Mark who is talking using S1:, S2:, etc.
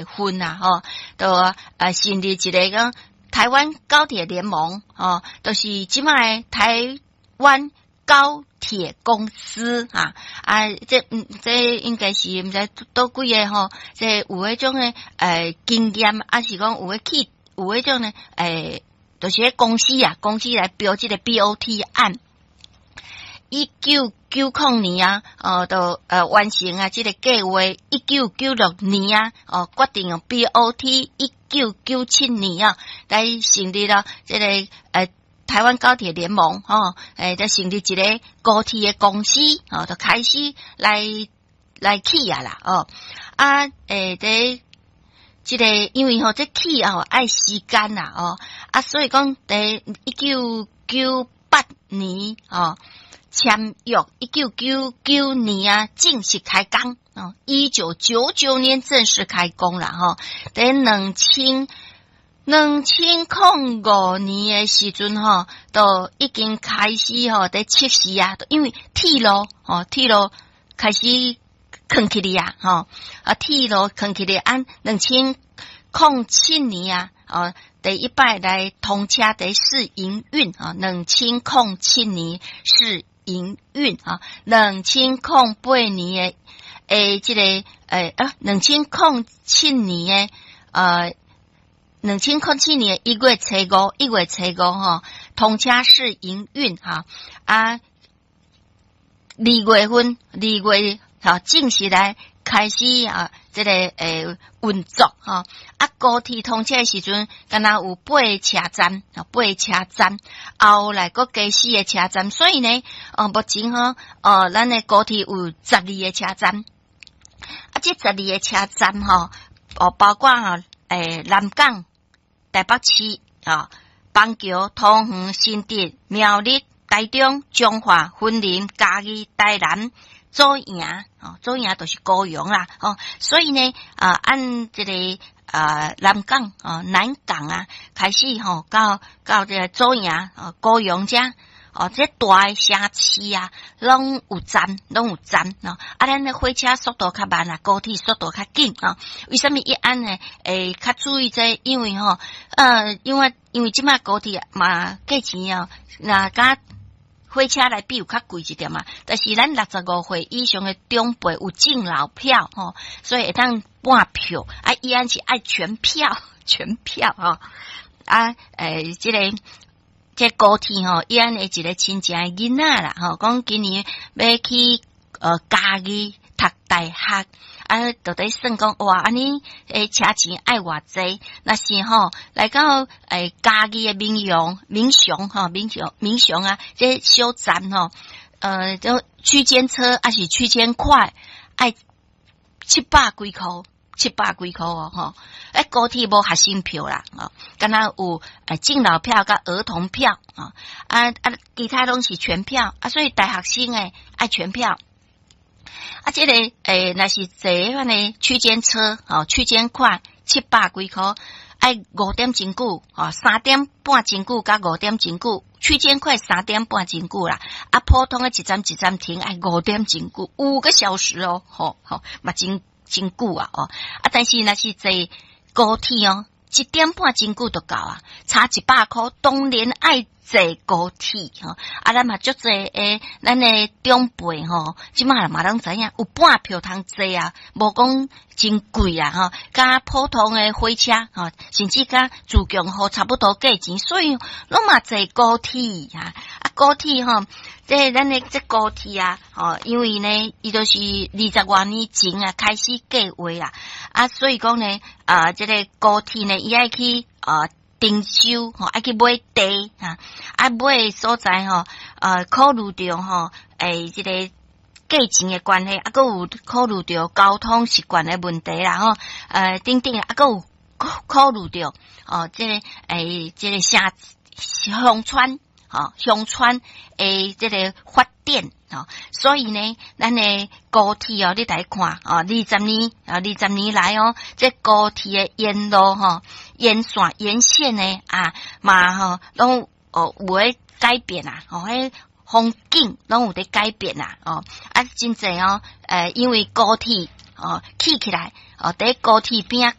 S1: 份啊，吼，就成立一个講台灣高鐵聯盟，吼，就是這擺台灣高鐵公司啊，啊，這應該是毋知佗幾个吼，這有彼種的經驗，抑是講有彼去有彼種的就是彼公司啊，公司來標這个 BOT 案。1990年啊，哦，就完成啊，這个計劃。1996年啊，哦，決定用 BOT。1997年啊，來成立了這个台灣高鐵聯盟，吼，就成立一个高鐵的公司，哦，就開始來起啊啦，哦，啊，這個因為吼，這起哦愛時間啦，哦，啊，所以講佇1998年哦簽約，1999年啊正式開工，哦，1999年正式開工啦，吼，佇2005年的時陣吼，都已經開始吼佇測試啊，因為鐵路吼，鐵路開始囥起來啊，吼，啊，鐵路囥起來，按2007年啊，哦，第一擺來通車佇試營運啊，2007年試營運啊，2008年的這个啊，2007年的1月初5，1月初5吼，通車試營運哈啊，2月份，2月吼正式來開始啊，這个運作吼啊，高鐵通車的時陣，敢若有八个車站，啊，八个車站，後來閣加四个車站，所以呢，哦，目前吼，哦，咱的高鐵有十二个車站，啊，這十二个車站吼，哦，包括吼，南港、台北市啊，板橋、桃園、新竹、苗栗、台中、彰化、雲林、嘉義、台南、左營，哦，左營就是高雄啦，哦，所以呢，啊，按這个啊南港哦，南港啊，開始吼到這个左營哦，高雄遮。哦，這大的城市啊，攏有站，攏有站哦。啊，咱的火車速度較慢啊，高鐵速度較緊啊。為啥物伊按呢？會較注意這個，因為吼，因為這擺高鐵嘛價錢哦，若佮火車來比有較貴一點嘛。但是咱65歲以上的長輩有敬老票吼，所以會當半票。啊，伊按是愛全票，全票吼。啊，這个。這高鐵吼，伊按的一个親情的囡仔啦，吼，講今年欲去嘉義讀大學，啊，就佇算講哇，按呢車錢愛偌濟？若是吼來到嘉義的民雄、民雄吼、民雄、民雄啊，這小站吼，就區間車抑是區間快，愛七百幾箍。七百幾箍哦，吼！欸，高鐵無學生票啦，哦，敢若有敬老票佮兒童票，啊啊，其他攏是全票，啊，所以大學生的愛全票。啊，這个若是坐彼款的區間車，吼，區間快七百幾箍，愛5點真久，吼，3點半真久佮5點真久，區間快3點半真久啦，啊，普通的一站一站停愛五點真久，5個小時哦，吼吼，嘛真。真久啊！哦，啊，但是若是坐高鐵哦，1點半真久就到啊，差100箍，當然愛坐高鐵吼。啊，咱嘛足濟的，咱的長輩吼，這擺嘛攏知影有半票通坐啊，無講真貴啊吼，佮普通的火車吼，甚至佮自強號差不多價錢，所以攏嘛坐高鐵啊。啊，高鐵吼。這咱的這高鐵啊，吼，因為呢，伊就是20外年前啊開始計劃啊，啊，所以講呢，啊，這个高鐵呢，伊愛去啊徵收，吼，愛去買地啊，啊買的所在吼，考慮著吼，這个價錢的關係，啊，閣有考慮著交通習慣的問題啦，吼，等等，啊，閣有考慮著哦，這个這个城鄉村。吼，鄉村的這个發展，吼，所以呢，咱的高鐵哦，你來看哦，二十年啊，二十年來哦，這高鐵的沿路吼，沿線沿線呢啊，嘛吼，攏哦有咧改變啊，吼，彼風景攏有佇改變啊，哦，啊，真濟哦，因為高鐵。哦，起起來，哦，佇高鐵邊仔。